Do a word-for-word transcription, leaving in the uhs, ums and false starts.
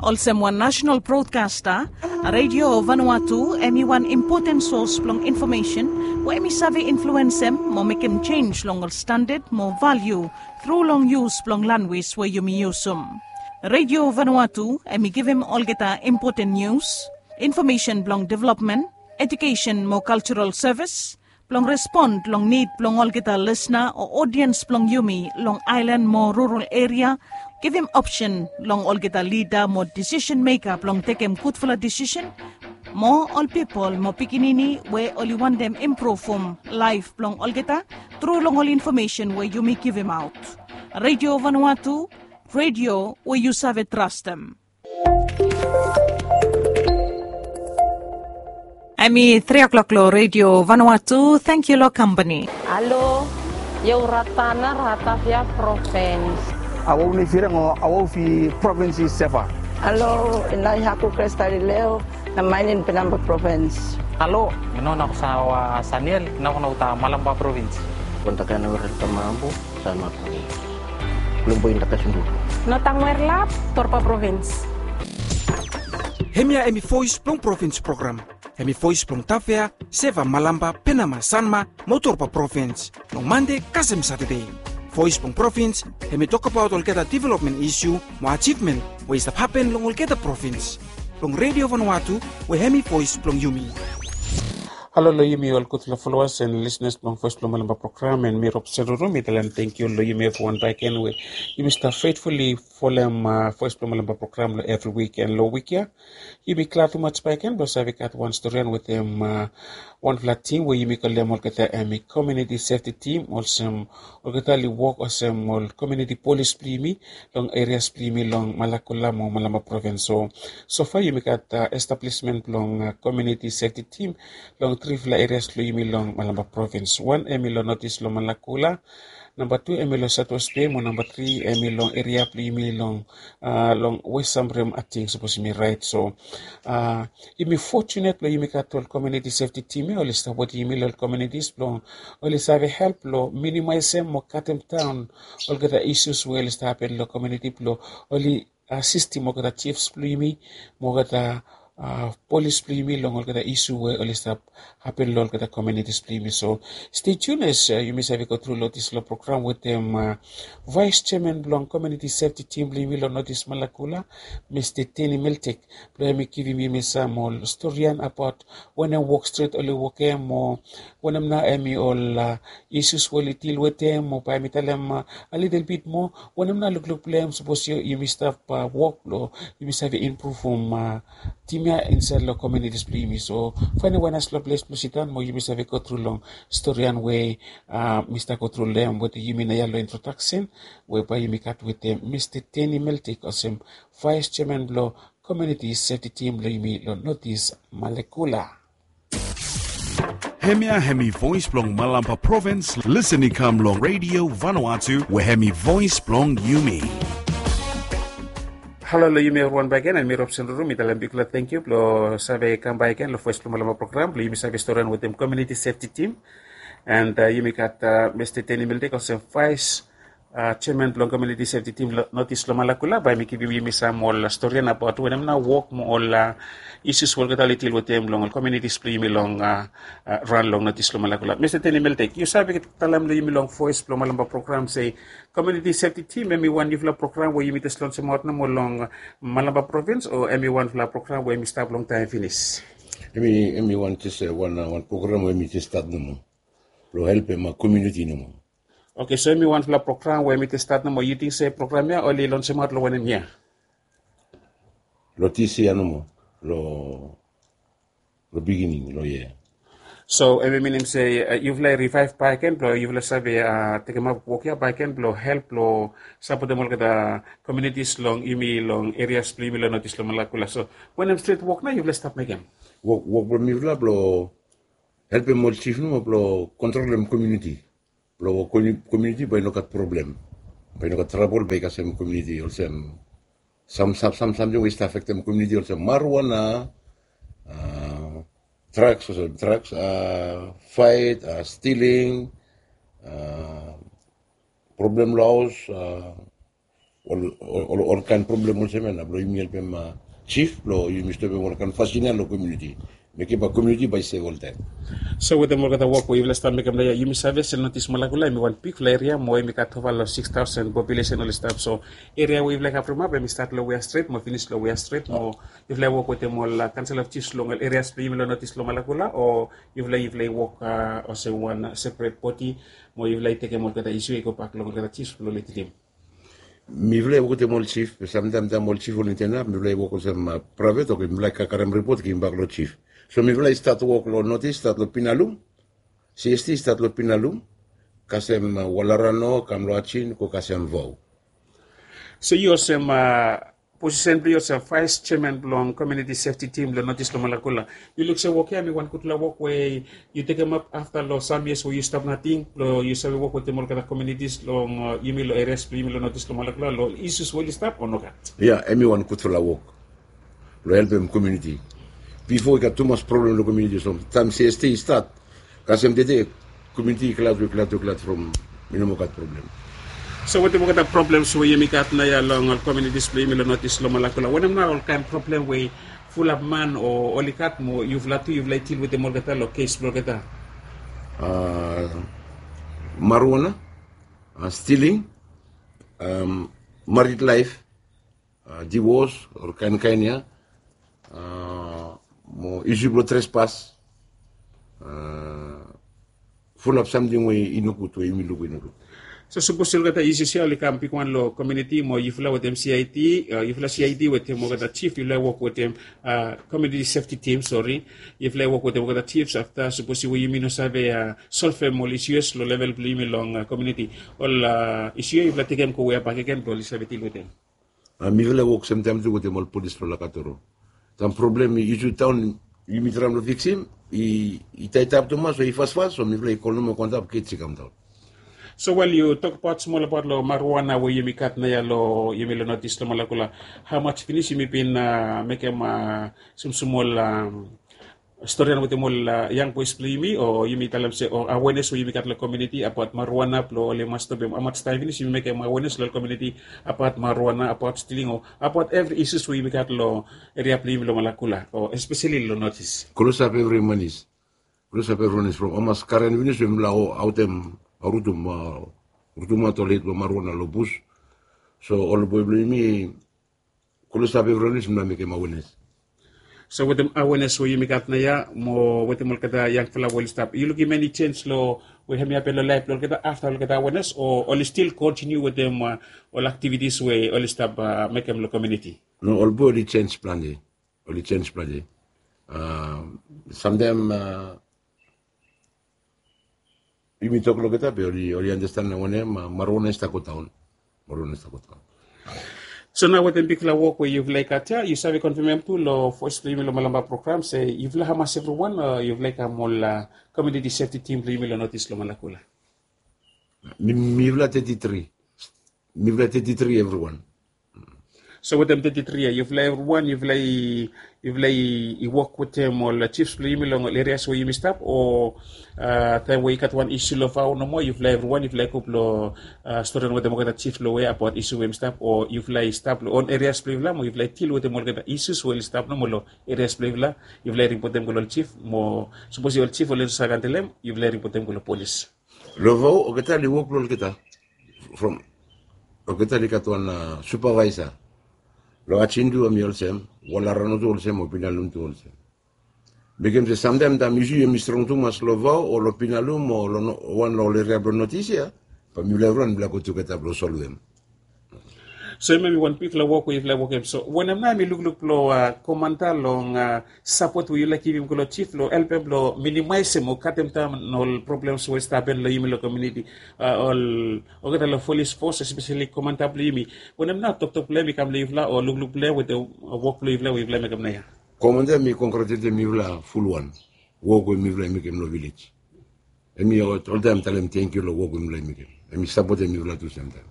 Olsem wan nasenal brodkasta, Radio Vanuatu hem i wan impoten sos blong infomesen we hem i save influensem mo mekem jenis long ol standad mo valiu tru long yus blong lanwis we yumi yusum. Radio Vanuatu hem i givim olgeta impoten nius, infomesen blong developmen, ejukesen mo kaljaral sevis, blong respon long nid blong olgeta lisna o odiens blong yumi long aelan mo rural eria, givim opsen long olgeta lida mo disisen meka blong tekem gudfala disisen, mo ol pipol mo pikinini we oli wantem impruvum laef blong olgeta tru long ol infomesen we yumi givimaot. Radio Vanuatu, radio we yu save trastem. Hem i tri o'klok long Radio Vanuatu. Tangkiu long kampani. Alo, io Ratana, Ratavia Provins. Awau nei firang o awau fi provins i Seva. Alo, inai haku Kristalileo, na mainin Penamba Provins. Alo, ino na kusawa Saniel, na kuna uta Malamba Provins. Kontakana wera tamambu, Sanma Provins. Kulumbu inda kasundu. Notang Werlap, Torpa Provins. Hemia hemi voes blong provins program. Hemi voes blong Tafea, Seva, Malamba, Penama, Sanma mo Torpa provins. Long Mande kasem Satade. Voes blong provins hemi tokbaot olgeta developmen isu mo ajivmen we i stap hapen long olgeta provins. Blong Radio Vanuatu we hemi voes blong yumi. Halo long yumi ol gudfala folowas en lisnas blong Voes blong Malamba program, en mi Robson Ruru mi talem tangkiu long yumi evriwan bakegen we yumi stap feitfuli folem Voes blong Malamba program long evri wik en long wik ya. Yumi glad tumas bakegen blong save gat wan storian wetem wanfala tim we yumi kolem olgeta hemi komuniti sefti tim, olsem olgeta oli wok olsem ol komuniti polis blong yumi long erias blong yumi long Malakula mo Malamba provins. So, sofa yumi gat establismen blong komuniti sefti tim long trifala erias blong yumi long Malamba provins. Wan hemi long notis long Malakula, namba tu hemi long Sautwes Bei, mo namba tri hemi long eria blong yumi long long West Samrim, ating sapos yumi raet. So yumi fotunet blong yumi gat ol komuniti sefti tim ya oli stap wetem yumi long ol komunitis blong oli save help long minimaesem mo katemdaon olgeta isus we oli stap hapen long komuniti blong oli asistim olgeta jifs blong yumi mo olgeta polis blong yumi long olgeta isu we oli stap hapen long olgeta komunitis blong yumi. So stay tuned as yumi save go tru long disfala program wetem vaes jeaman blong komuniti sefti tim blong yumi long Notis Malakula, Mista Teni Meltek, blong hemi givim yumi sam ol storian abaot wanem wok stret oli wokem, o wanem nao hemi ol isus we oli dil wetem, o bae mi talem a lidel bit moa wanem nao lukluk blong hem sapos yumi stap wok blong yumi save impruvum tim ya insaed long komunitis blong yumi. So faenem wan naesfala ples blong sidaon mo yumi save go tru long storian we mi stap go tru long hem wetem yumi naoia long introdaksen we bae yumi gat wetem Mista Teni Meltek olsem vaes jeaman blong komuniti sefti tim blong yumi long Notis Malakula. Hemia hemi voes blong Malamba provins. Lisen i kam long Radio Vanuatu we hemi voes blong yumi. Halo long yumi evriwan bakegen, hemi Robson Ruru, mi talem bigfala tangkiu blong save kam bakegen long Voes blong Malamba program blong yumi save storian wetem komuniti sefti tim. And yumi gat Mista Teni Meltek olsem vaes jeaman blong komuniti sefti tim long Notis long Malakula, bae mi givim yumi sam ol storian abaot wanem nao wok mo ol isus we olgeta oli dil wetem long ol komunitis blong yumi long raon long Notis long Malakula. Mista Teni Meltek, yu save talem long yumi long Voes blong Malamba program se komuniti sefti tim hemi wan niufala program we yumi jes lonsemaot nomo long Malamba provins, o hemi wanfala program we hemi stap longtaem finis? Hemi wan jes wan program we hemi jes stat nomo blong helpem komuniti nomo. Oke, so hemi wanfala program we hemi jes stat nomo. Yu ting se program ya oli lonsemaot long wanem yia? Long dis yia nomo, long bigining long yia. So hemi minim se yufala i rivaev bakegen blong yufala save tekemap wok ya bakegen blong help long sapotem olgeta komunitis long yumi long erias blong yumi long Notis long Malakula. So wanem stret wok nao yufala stap mekem? Wok blong mifala blong helpem ol jif nomo blong kontrolem komuniti blong komuniti bae i no gat problem, bae i no gat trabol, bae i kasem komuniti olsem sam samting we i stap afektem komuniti olsem marijuana, drugs olsem drugs, faet, stiling, problem long haos, ol ol ol kaen problem olsem ya na blong yumi helpem jif blong yumi stopem ol kaen fasin ya long komiuniti. Mekem bae komiuniti bae i sef oltaem. So wetem olgeta wok we yufala stap mekem nao ya, yumi save se notis Malakula hemi wan bigfala eria mo hemi gat ova long sikis taosen populesen oli stap. So eria we yufala i kavremap hemi stat long Wea Stret mo finis long Wea Stret mo yufala i wok wetem ol kansel of jifs long ol erias blong yumi long notis long Malakula, o yufala yufala i wok olsem wan seperet bodi mo yufala i tekem olgeta isiu i gobak long olgeta jifs blong Letilim? Mifala i wok wetem ol jif be samtaem taem ol jif oli tenap mifala i wok olsem praevet, oke, mifala i karem ripot givim bak long jif. So mifala i stat wok long notis, stat long Pinalum. Sesti i stat long Pinalum, kasem Walarano, kam long Ajin, go kasem Vau. So yu olsem posisen blong yu olsem vaes jeaman blong komiuniti sefti tim long notis long Malakula, yu luk se wok ya hemi wan gudfala wok we yu tekemap afta long sam yias we yu stap nating blong yu save wok wetem olgeta komiunitis long yumi long erias blong yumi long notis long Malakula long isus we oli stap o nogat? Ya, hemi wan gudfala wok blong helpem komiuniti. Bifo i gat tumas problem long komiuniti, so taem sesti i stat kasem tede, komiuniti i glad we glad we glad from mi no moa gat problem. So wetem olgeta problems we yumi gat naoia long ol komiunitis blong yumi long notis long Malakula, wanem nao ol kaen problem we fulap man o oli gat mo yufala tu yufala i dil wetem olgeta long kes blong olgeta? Marijuana, stiling, marit laef, divos, ol kaenkaen ya, mo isu blong trespas, fulap samting we i nogud we yumi luk we i nogud. So sapos olgeta isus ya oli kam bigwan long komiuniti mo yufala wetem CID, yufala CID wetem olgeta jif yufala i wok wetem komiuniti sefti tim, sori, yufala i wok wetem olgeta jifs afta sapos we yumi no save solvem ol isus long level blong yumi long komiuniti, ol isus ya yufala tekem go wea bakegen blong oli save dil wetem? Mifala i wok semtaem tu wetem ol polis blong Lakatoro. Sam problem i isu taon yumi traem long fiksim, i taetap tumas o i fasfas, so mifala i kol nomo go antap kej i kamdaon. So wel, yu tokbaot smol abaot long marijuana we yumi gat naoia long yumi long notis long Malakula. Hamas finis yumi bin mekem smosmol storian wetem ol yang boes blong yumi o yumi talem se o awenes we yumi gat long komiuniti abaot marijuana blong oli mas stopem? Hamas taem finis yumi mekem awenes long ol komiuniti abaot marijuana, abaot stiling o abaot evri isus we yumi gat long eria blong yumi long Malakula o espeseli long notis? Klosap evri manis. Klosap evri manis from hamas karen finis we mifala aotem, rutum, rutumaot ol hed blong marijuana long bus. So ol boe blong yumi klosap evriwan we yumi mekem awenes. So wetem awenes we yumi gat naoia mo wetem olgeta yangfala we oli stap, yu lukim eni jenj long we hemi hapen long laef blong olgeta afta olgeta awenes o oli stil kontiniu wetem ol aktivitis we oli stap mekem long komiuniti? No, ol boe oli jenj plante. Oli jenj plante. Samtaem yumi tok long olgeta be oli anastan wanem, marijuana i stap godaon. Marijuana i stap godaon. So nao wetem bigfala wok we yufala i gat ya, yu save konfemem tu long voes blong yumi long Malamba program se yufala hamas evriwan o yufala i kam ol komiuniti sefti tim blong yumi long notis long Malakula? Mifala teti tri. Mifala teti tri evriwan. So wetem teti tri ya yufala evriwan yufala i wok wetem ol jifs blong yumi long ol erias we yumi stap o taem we i gat wan isu long Vau nomo yufala evriwan yufala i go blong storian wetem olgeta jif long we abaot isu we yumi stap o yufala i stap long on erias blong yufala mo yufala i dil wetem olgeta isus we oli stap nomo long erias blong yufala? Yufala i ripotem go long ol jif mo sapos ol jif oli no save handlem yufala i ripotem go long polis? Long Vau olgeta oli wok blong olgeta. From olgeta oli gat wan supavaesa. Long Ajin tu hemi olsem, Walarano tu olsem o Pinalum tu olsem. Mekem se samtaem taem isu hemi strong tumas long Vau o long Pinalum o long wan long ol eria blong notis ya, bae mifala evriwan mifala go tugeta blong solvem. So hemia hemi wan bigfala wok we yufala i wokem. So wanem nao hemi lukluk blong komanta long sapot we yufala i givim go long jif blong helpem blong minimaesem o katem daon ol problems we i stap hapen long yumi long komiuniti? Ol olgeta long polis fos espeseli komanta blong yumi, wanem nao toktok blong hem i kam long yufala o lukluk blong hem wetem wok blong yufala we yufala i mekem naoia? Komanta hemi kongratuletem yufala fulwan. Wok we mifala i mekem long vilej. Hemi oltaem talem tangkiu long wok we mifala i mekem. Hemi sapotem mifala tu semtaem.